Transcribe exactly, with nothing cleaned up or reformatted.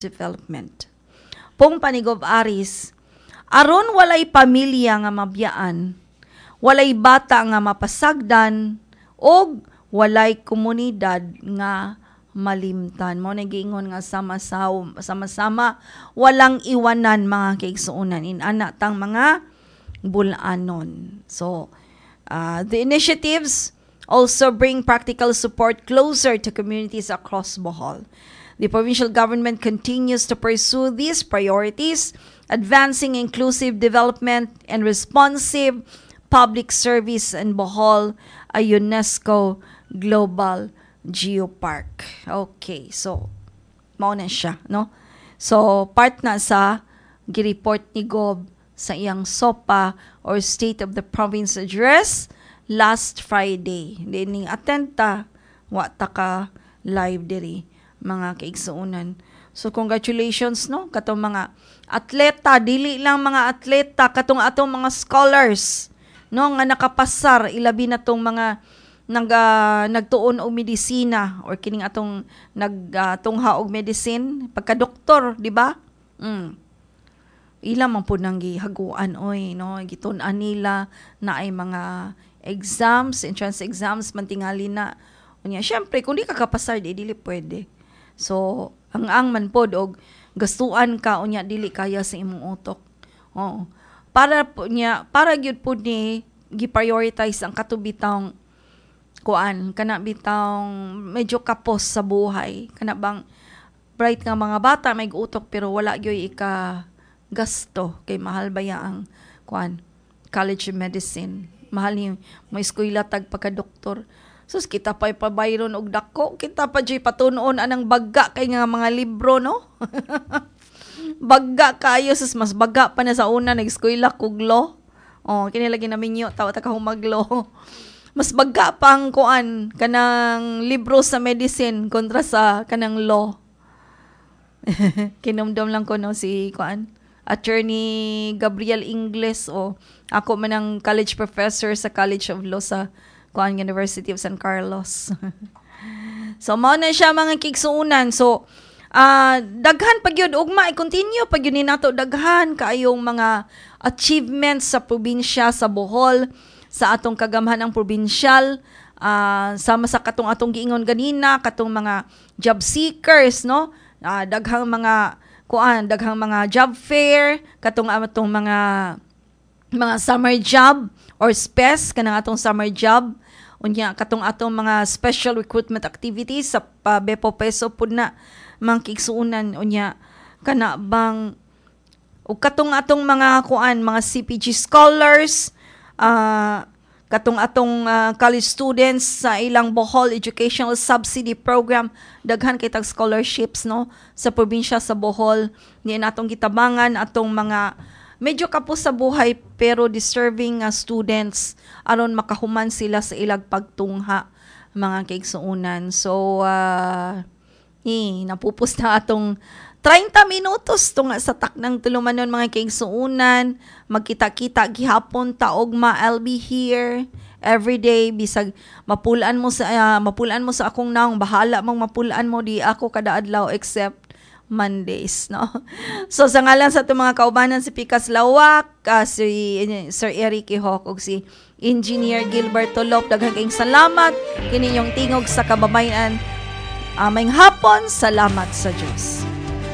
Development. Pong pa ni Gov Aris, aron walay pamilya nga mabiyaan, walay bata nga mapasagdan, og walay komunidad nga malimtan. Mao na giingon nga sama-sama, sama-sama walang iwanan, mga kaigsuonan. Inana tang mga bulanon. So, uh, the initiatives also bring practical support closer to communities across Bohol. The provincial government continues to pursue these priorities, advancing inclusive development and responsive public service in Bohol, a UNESCO Global Geopark. Okay, so mao na siya, no? So part na sa gi-report ni Gob sa iyang SOPA or State of the Province Address last Friday. Di ning attend ta, wa ta ka live diri, mga kaigsuonan. So congratulations, no, katong mga atleta, dili lang mga atleta, katong atong mga scholars, no, nga nakapasar, ilabi na tong mga nag uh, nagtuon og medisina or kining atong nagtungha uh, og medicine pagka doktor, di ba? Mm. Ila man pud nang gihaguan oy, no, gitun-an nila na ay mga exams, entrance exams man tingali na. Unya syempre kung di ka kapasar, di dili pwede. So, ang ang man pod og gastuan ka, unya dili kaya sa imong utok. Oo. Para po niya, para gyud pud ni gi-prioritize ang kato bitawng kuan, kana bitawng medyo kapos sa buhay, kana bang bright nga mga bata, may utok, pero wala gyud ika gasto kay mahal baya ang kuan, College of Medicine. Mahal ni mo eskwela tag pagka doktor. Sus, kita pa pabayron og dako, kita pa jud patunon anang bagga kay nga mga libro, no? Bagga kayo, sus, mas bagga pa na sa una nag-eskwela kog law. Oh, kini lagi na minyo tawa ta ka humaglo. Mas bagga pa ang kuan, kanang libro sa medicine kontra sa kanang law. Kinumdum lang ko, no, si kuan, Attorney Gabriel Ingles o ako man ang college professor sa College of Law sa kuan, University of San Carlos. So mao na siya, mga kaigsuonan. So ah daghan pa gyud, ugma i-continue pa gyud ni nato, daghan kaayong mga achievements sa probinsya sa Bohol, sa atong kagamhanang probinsyal, ah, sama sa katong atong giingon ganina, katong mga job seekers, no? Ah, daghang mga kuan, daghang mga job fair, katong atong mga mga summer job or SPES, kanang atong summer job, unya katong atong mga special recruitment activities sa pa Bepo Peso pud na, mga kaigsuonan. Unya kana bang ug katong atong mga kuan, mga C P G scholars, ah, katong atong ah, college students sa ilang Bohol Educational Subsidy Program, daghan kay tag scholarships, no, sa probinsya sa Bohol. Ni natong gitabangan atong mga medyo kapos sa buhay pero deserving nga students aron makahuman sila sa ilang pagtungha, mga kaigsuonan. So uh, eh, napupos na atong trenta minutos tunga sa taknang tulumanon, mga kaigsuonan. Magkita-kita gihapon ta ugma. I'll be here every day bisag mapulaan mo sa ah, mapulaan mo sa akong naong, bahala mong mapulaan mo, di ako kada adlaw except Mondays, no? So, sa ngalan sa atong mga kaubanan, si Pikas Lawak, ah, si Sir Eric Ihok, ug si Engineer Gilbert Tolop, daghang kayong salamat. Kini inyong Tingog sa Kababayan. Uh, maayong hapon, salamat sa Diyos.